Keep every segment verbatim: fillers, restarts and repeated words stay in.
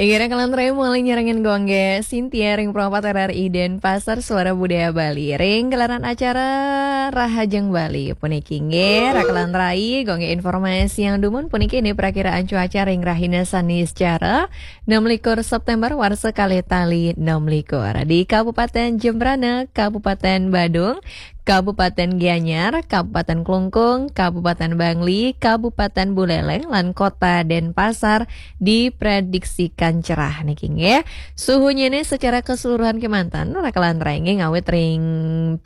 Inggih, raka lan rai, malih nyarengin gongge Sintia ring Pro empat R R I Denpasar, Suara Budaya Bali. Ring gelaran acara Rahajeng Bali puniki nggih, raka lan rai, gongge informasi yang dumun puniki nih, prakiraan cuaca ring rahina Saniscara, enam likur September warsa kalih tali enam likur. Di Kabupaten Jembrana, Kabupaten Badung, Kabupaten Gianyar, Kabupaten Klungkung, Kabupaten Bangli, Kabupaten Buleleng, lan Kota Denpasar diprediksikan cerah niki nggih. Suhunya ini secara keseluruhan kemanten, raka lan rai nggih, ngawit ring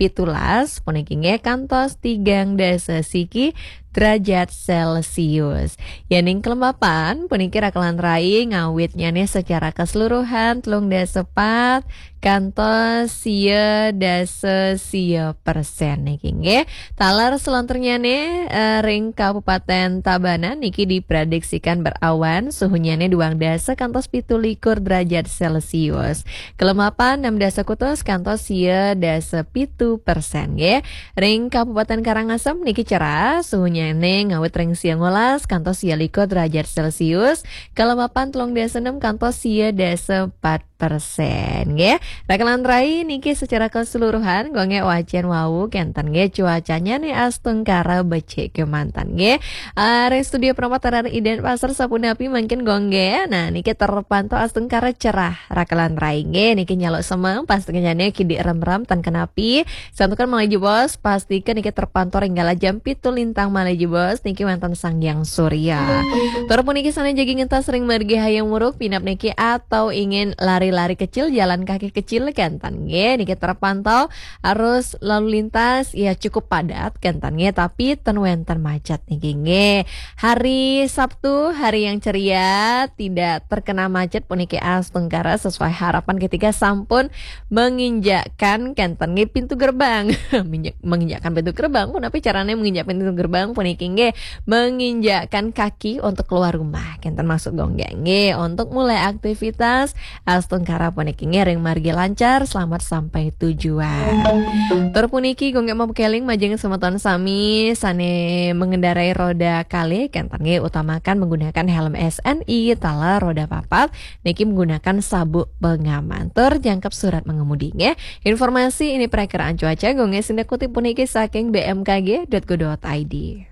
pitulas puniki nggih kantos tigang dasa siki derajat Celcius. Yaning kelembapan puniki, raka lan rai, ngawitnya nih secara keseluruhan telung dasa pat kantos sia dasa sia persen niki nggih. Taler selanturnya nih, eh, ring Kabupaten Tabanan niki diprediksikan berawan, suhunya nih duang dasa kantos pitu likur derajat Celcius. Kelembapan enam dasa kutus kantos sia dasa pitu persen nggih. Ring Kabupaten Karangasem niki cerah, suhunya nih ngawit ring sia ngolas kantos sia likur derajat Celcius. Kelembapan telung dasa enam kantos sia dasa empat persen nggih. Raka lan rai, niki secara keseluruhan gongge wacén wau kenten nggih, cuacanya nih astungkara becik kemanten nggih. Ah, ring studio Pro empat R R I Denpasar sapunapi mangkin gongge? Nah, niki terpantau astungkara cerah, raka lan rai nggih. Niki nyaluk semeng, pastika jane kidik remrem tan kenapi. Santukan malih jebos, pastika niki terpantau ring galah jam pitu lintang malih jebos niki wenten Sang Hyang Surya. Tur puniki sane jagi ngentas ring margi Hayam Wuruk, pinap niki atau ingin lari-lari kecil, jalan kaki kecil kenten nggih, niki terpantau arus lalu lintas ya cukup padat kenten nggih, tapi ten wenten macet niki nggih. Hari Sabtu, hari yang ceria, tidak terkena macet puniki astungkara sesuai harapan ketika sampun menginjakkan kenten nggih pintu gerbang. Minjak-, menginjakkan pintu gerbang, punapi carane menginjak pintu gerbang puniki nggih, menginjakkan kaki untuk keluar rumah. Kenten maksud gongge nggih, untuk mulai aktivitas astungkara puniki nggih ring margi lancar, selamat sampai tujuan. Tur puniki gongge mapakeling majeng semeton sami sane mengendarai roda kalih, kenten nggih utamakan menggunakan helm S N I, taler roda papat, niki menggunakan sabuk pengaman. Tur jangkep surat mengemudi nggih. Informasi ini perakiraan cuaca gongge sida kutip puniki saking B M K G dot go dot I D.